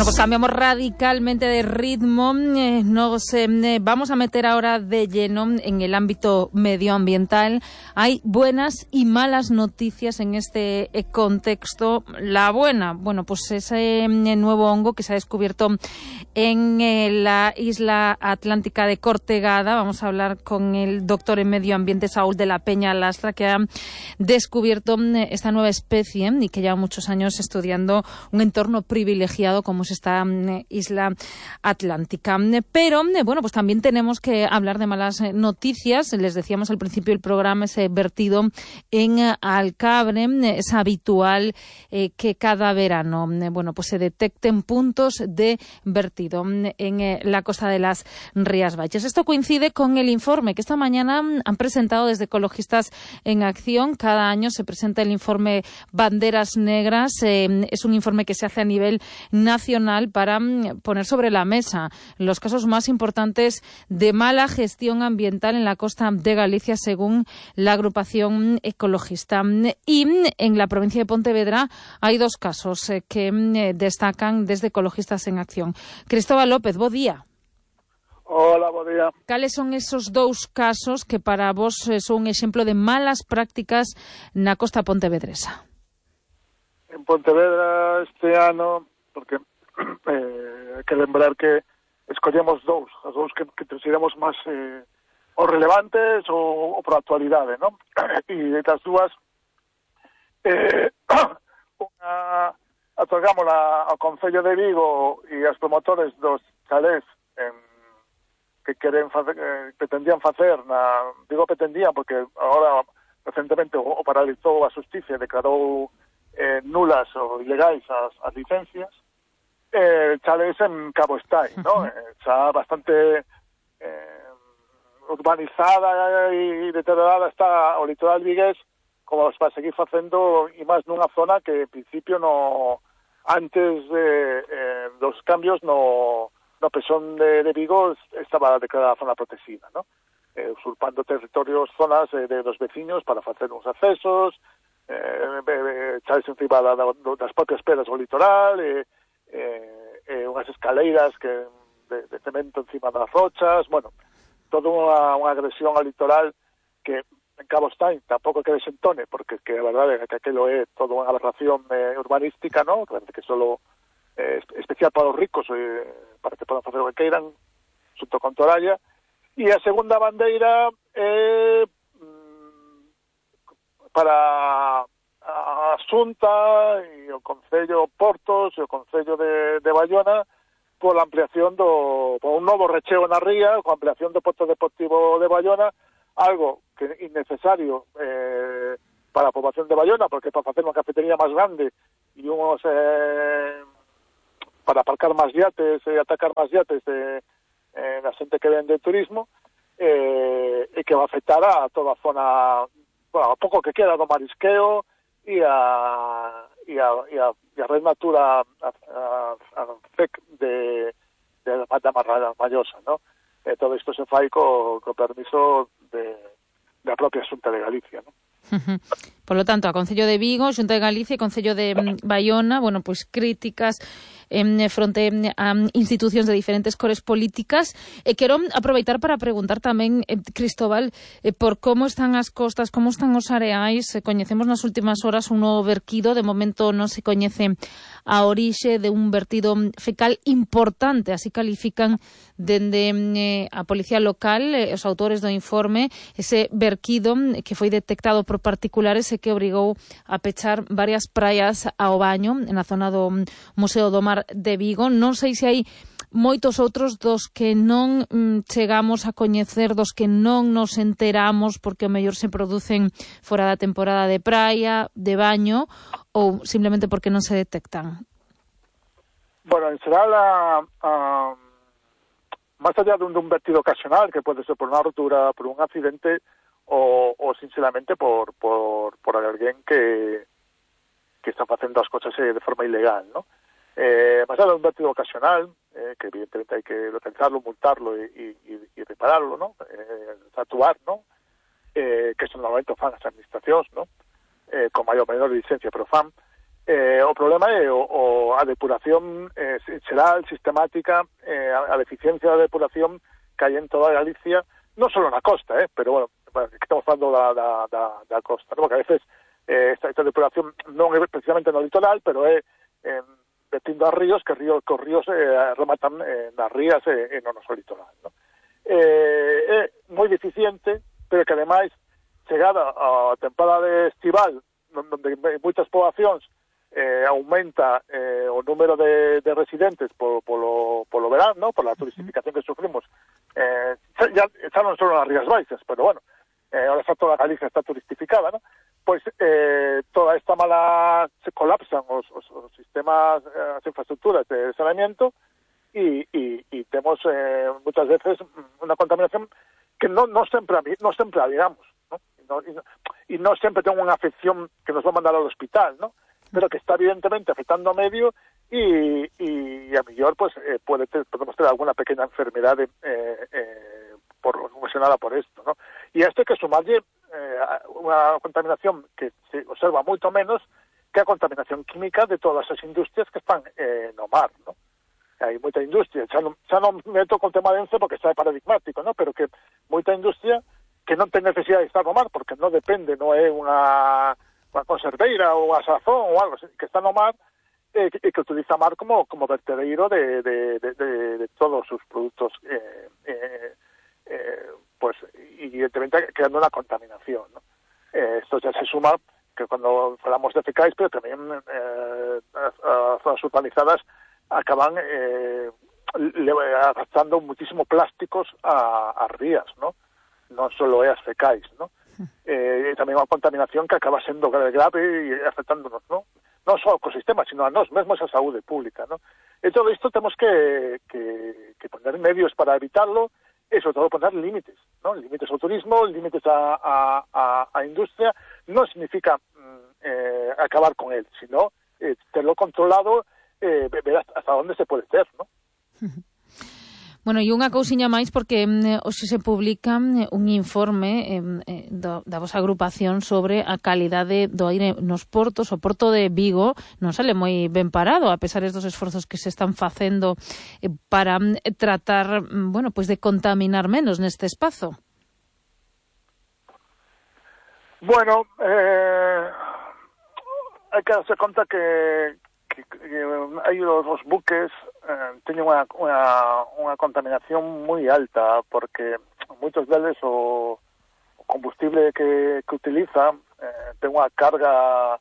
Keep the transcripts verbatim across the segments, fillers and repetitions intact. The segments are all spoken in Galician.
Bueno, pues cambiamos radicalmente de ritmo. Eh, nos eh, vamos a meter ahora de lleno en el ámbito medioambiental. Hay buenas y malas noticias en este eh, contexto. La buena, bueno, pues ese eh, nuevo hongo que se ha descubierto en eh, la isla atlántica de Cortegada. Vamos a hablar con el doctor en medio ambiente Saúl de la Peña Lastra, que ha descubierto eh, esta nueva especie y que lleva muchos años estudiando un entorno privilegiado como es esta eh, isla atlántica. Pero, eh, bueno, pues también tenemos que hablar de malas eh, noticias. Les decíamos al principio del programa, ese vertido en eh, Alcabre. Eh, es habitual eh, que cada verano, eh, bueno, pues se detecten puntos de vertido eh, en eh, la costa de las Rías Baixas. Esto coincide con el informe que esta mañana han presentado desde Ecologistas en Acción. Cada año se presenta el informe Banderas Negras. Eh, es un informe que se hace a nivel nacional para poner sobre la mesa los casos más importantes de mala gestión ambiental en la costa de Galicia, según la agrupación ecologista. Y en la provincia de Pontevedra hay dos casos eh, que eh, destacan desde Ecologistas en Acción. Cristóbal López, bo día. Hola, bo día. Cales son esos dous casos que para vos eh, son un exemplo de malas prácticas na costa pontevedresa? En Pontevedra este ano, porque eh, hai que lembrar que escollemos dous, as dous que, que consideramos máis eh, o relevantes ou, ou por actualidade, non? E das dúas eh, unha otorgámola ao Concello de Vigo e aos promotores dos chalés en, que queren facer, eh, pretendían facer na, digo pretendían porque agora recentemente o, o paralizou a Xustiza e declarou eh, nulas ou ilegais as, as licencias. Eh, chalés en Cabo Estai, ¿no? Eh, xa bastante eh, urbanizada e deteriorada está o litoral vigués, como para seguir facendo, e máis nunha zona que en principio no antes de, eh, dos cambios no, no Pesón de, de Vigo estaba declarada zona protegida, ¿no? Eh, usurpando territorios, zonas eh, de los veciños para facer uns accesos, eh, eh, chalés encima da, da, das propias pedras do litoral, eh, Eh, eh, unhas escaleiras que de, de cemento encima das rochas, bueno, toda unha, unha agresión ao litoral que en Cabo Estai tampouco que desentone, porque que a verdade é que aquilo é toda unha aberración eh, urbanística, ¿no? Que parece que solo eh, especial para os ricos, eh, para que podan facer o que queiran, xunto con Toralla. E a segunda bandeira é eh, para a Xunta e o Concello Portos e o Concello de, de Bayona pola ampliación do por un novo recheo na ría, coa ampliación do Porto Deportivo de Bayona, algo que é innecesario eh, para a poboación de Bayona, porque para facer unha cafetería máis grande e unhos eh, para aparcar máis yates e atacar máis yates de eh, da xente que vende turismo, eh, e que va a afectar a toda a zona, bueno, a pouco que queda do marisqueo e a e a, e a, e a Red Natura a, a, a C E C de, de da Marrada Mallosa, ¿no? E todo isto se fai co, co permiso de da propia Xunta de Galicia, ¿no? Uh-huh. Por lo tanto, a Concello de Vigo, Xunta de Galicia e Concello de um, Bayona, bueno, pois pues, críticas en eh, fronte a um, institucións de diferentes cores políticas. E quero aproveitar para preguntar tamén, eh, Cristóbal, eh, por como están as costas, como están os areais. Eh, coñecemos nas últimas horas un novo verquido, de momento non se coñece a orixe de un vertido fecal importante, así califican dende eh, a Policía Local, eh, os autores do informe, ese verquido que foi detectado por particulares e que obrigou a pechar varias praias ao baño na zona do Museo do Mar de Vigo. Non sei se hai moitos outros dos que non mm, chegamos a coñecer, dos que non nos enteramos porque o mellor se producen fora da temporada de praia, de baño, ou simplemente porque non se detectan. Bueno, en xeral, a, a, máis allá dun, dun vertido ocasional, que pode ser por unha rotura, por un accidente, o, o sinceramente por, por, por alguén que, que está facendo as cosas de forma ilegal, ¿no? Eh, máis allá dun vertido ocasional, eh, que evidentemente hai que localizarlo, multarlo e, e, e repararlo, ¿no? Eh, actuar, ¿no? Eh, que eso normalmente fan as administracións, ¿no? Eh, con maior menor licencia, pero fan. Eh, o problema é o, o a depuración eh, xeral, sistemática, eh, a, a deficiencia da depuración que hai en toda Galicia, non só na costa, eh, pero, bueno, que estamos falando da, da, da, da costa, ¿no? Porque a veces eh, esta, esta depuración non é precisamente no litoral, pero é eh, vertindo a ríos, que, ríos, que os ríos eh, rematan eh, nas rías e eh, no noso litoral, ¿no? Eh, é moi deficiente, pero que ademais, chegada a temporada de estival, onde moitas poboacións eh, aumenta eh, o número de, de residentes por, polo, polo verano, ¿no? Por la turistificación que sufrimos, eh, ya, ya non solo nas Rías Baixas, pero bueno, eh, ahora está toda Galicia está turistificada, ¿no? Pois eh, toda esta mala, se colapsan os, os, os sistemas, eh, as infraestructuras de saneamiento e, e, e temos eh, muchas veces unha contaminación que non, non sempre non sempre digamos, ¿no? E non, e non, e non sempre ten unha afección que nos va a mandar ao hospital, ¿no? Pero que está evidentemente afectando ao medio y, y a mellor pues eh, puede ter, podemos ter alguna pequeña enfermedade eh, eh, por, ocasionada por esto, ¿no? Y a esto hay que sumarlle eh, unha contaminación que se observa moito menos que a contaminación química de todas as industrias que están eh, no mar, ¿no? Hai moita industria, xa non, xa non meto con tema de Ence porque está paradigmático, ¿no? Pero que moita industria que non ten necesidade de estar no mar porque non depende, non é unha unha conserveira ou unha sazón ou algo que está no mar e eh, que, que utiliza mar como, como vertedero de, de, de, de, de todos os produtos eh, eh, eh, pues evidentemente creando unha contaminación, ¿no? Eh, esto ya se suma que cuando falamos de fecais, pero tamén eh, as, as zonas urbanizadas acaban eh, arrastrando muchísimo plásticos a, a rías, ¿no? Non só é as fecais, ¿no? Eh, tamén unha contaminación que acaba sendo grave, grave e afectándonos, ¿no? Non só ao ecosistema, sino a nós mesmos a saúde pública, ¿no? E todo isto temos que, que, que poner medios para evitarlo e, sobre todo, poner límites, ¿no? Límites ao turismo, límites a, a, a, a industria, non significa eh, acabar con él, sino eh, tenerlo controlado, eh, ver hasta onde se pode ter, ¿no? Bueno, e unha cousiña máis porque eh, hoxe se publica eh, un informe eh, do, da vosa agrupación sobre a calidade do aire nos portos. O porto de Vigo non sale moi ben parado, a pesar dos esforzos que se están facendo eh, para eh, tratar, bueno, pues de contaminar menos neste espazo. Bueno, eh, hai que darse conta que que, que hai os, os buques eh, teñen unha, unha, unha contaminación moi alta porque moitos deles o, o combustible que, que utiliza eh, ten unha carga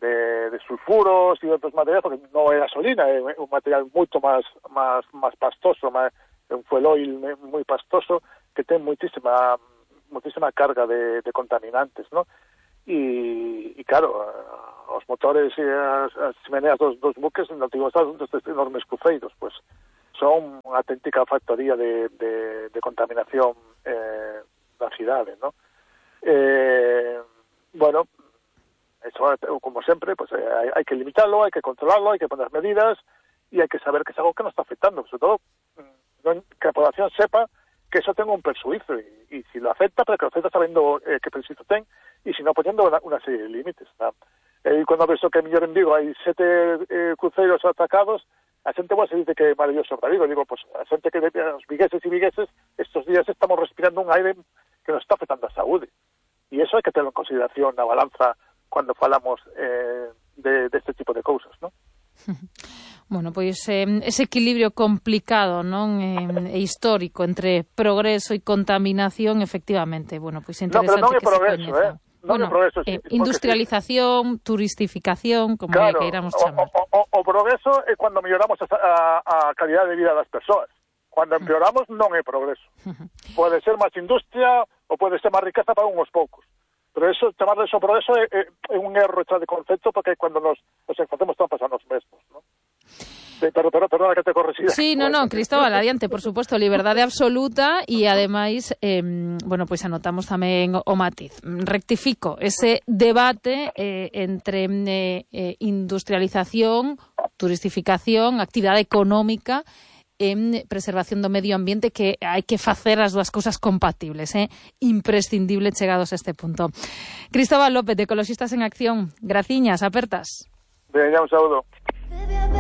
de, de sulfuros e outros materiais, porque non é gasolina, é un material moito máis máis máis pastoso, máis, é un fuel oil moi pastoso que ten moitísima moitísima carga de, de contaminantes, ¿no? E, e claro, os motores e as, as chimeneas dos, dos buques no antigo estado destes enormes cruceiros, pues son unha auténtica factoría de, de, de contaminación eh, da cidade, ¿no? Eh, bueno, eso, como sempre, pues hai, hai que limitarlo, hai que controlarlo, hai que poner medidas e hai que saber que es algo que nos está afectando, sobre todo non, que a población sepa que eso ten un perjuicio e, e si lo afecta, pero que lo afecta sabiendo eh, que perjuicio ten e si no poniendo una, una serie de límites, ¿no? E cando ves que mellor en Vigo hai sete eh, cruceiros atracados, a xente pues, se dice que é maravilloso para Vigo. Digo, pues a xente que os vigueses e vigueses estos días estamos respirando un aire que nos está afectando a saúde. E eso hai que tenerlo en consideración na balanza cando falamos eh, de, de este tipo de cousas, ¿no? Bueno, pois eh, ese equilibrio complicado, non, eh, e histórico entre progreso e contaminación, efectivamente, bueno, pois interesante no, pero non é que progreso, se coñeza. Eh? Non bueno, progreso, sí, eh, industrialización, sí. Turistificación, como claro, que queiramos chamar. O, o, o progreso é cando melloramos a, a, a calidad de vida das persoas. Cando empeoramos non é progreso. Pode ser máis industria ou pode ser máis riqueza para unhos poucos. Pero eso, chamarle eso progreso é, é, é un erro echar de concepto porque cando nos, nos facemos trampas a nos mesmos, ¿no? Sí, pero, pero, perdona que te correxida. Sí, no, no, Cristóbal, adiante, por suposto, liberdade absoluta e, ademais, eh, bueno, pois anotamos tamén o matiz. Rectifico ese debate eh, entre eh, industrialización, turistificación, actividade económica en preservación do medio ambiente, que hai que facer as dúas cousas compatibles, eh? Imprescindible chegados a este punto. Cristóbal López, de Ecoloxistas en Acción, graciñas, apertas. Veña, un saúdo.